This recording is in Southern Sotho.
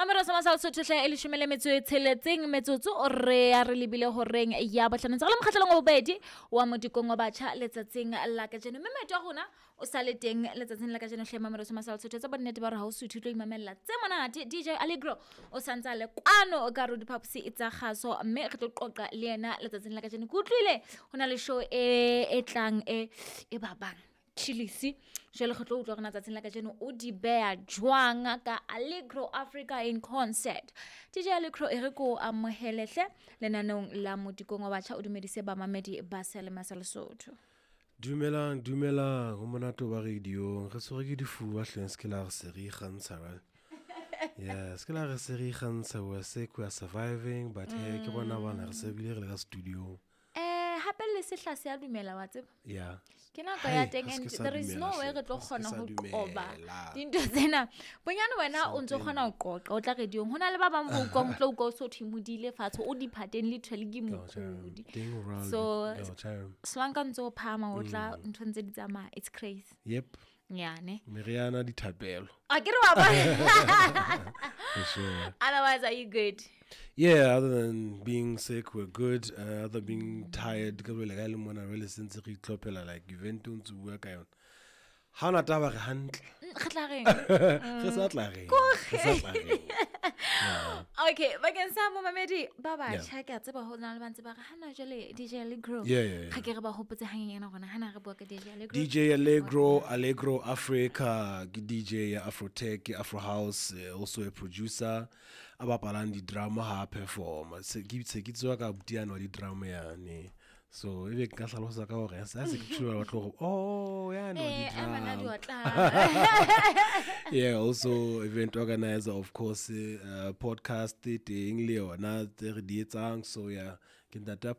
Mamelo sa masal sotho hle e leshome le metso e tsheletseng metsotso re ya re lebile horeng ya bohlano ntse re le mokgatlelong wa bobedi wa modikong wa batjha letsatsing la kajeno, mme maeto a rona o sa le teng letsatsing la kajeno hle. Mamelo sa masal sotho, tsa bonnete ba hore ha o suthe o tlo imamella tse monate. DJ Allegro o santse a le kwano ka hare ho diphaposi tsa kgaso, mme re tlo qoqa le yena letsatsing la kajeno. Ke utlwile ho na le show e tlang e babang chilisi. Jwale re tlo utlwa rona tsatsing la kajeno o di beha jwang ka Allegro Africa in Concert. DJ Allegro, e re ko amohele hle lenaneong la modikong wa batjha, o dumedise bamamedi ba Sealema sa Lesotho. Dumelang, dumelang, ho monate ba radiong. Re tshwere ke difuba hleng, se ke la re se re ikgantsha, right? Yeah, se ke la re se re ikgantsha. We are sick, we are surviving, but hey, ke rona bana re se bile re le ka studio. Hape le sehla se a dumela, wa tseba. Ke nako Hai, ya teng ha se and ke sa there is dumela no way hle, re tlo ha se ke kgona sa ho qoba dumela. dintho tsena. Bonyane wena o ntso kgona ho qoqa, o tla radiong. Ho na le ba bang bo utlwang, o tlo utlwa o so thimodile fatshe, o diphateng literally ke Ka o tjha, mokudi. teng o rale, So ka o tjha. swanka ntse o phahama, o tla ntho ntse di tsamaya. It's crazy. Yep. Yeah, ne? Meriana, dithapelo. A ke re wa bona? For sure. Otherwise, are you good? Yeah, other than being sick, we're good. Other being tired, ka bolele ka le mona re le sentse re itlhophela like event o ntse o bua ka yona. Ha ona taba, re hantle. Re tla reng? Re sa tla reng. Re sa tla reng. Okay, bakeng sa momamedi ba batjha, ke a tseba ho na le ba ntse ba re hana jwale DJ Allegro. Yeah. Ga ke re ba hopotse hanyenyana gona hana re bua ka DJ Allegro. DJ Allegro, Allegro Africa, ke DJ ya Afrotech, ke Afro House, also a producer, a bapalang di-drum ha a performa. Se ke tswa ka abuti yane wa di-drum yane. So ebe ke ka hlalosa ka hore sa se ke tshwara ba tlo hore, oh, yane wa A mana di di-drum. otla. Yeah, also event organizer, of course, podcast teng le yona tse re di etsang. So yeah, ke ntate a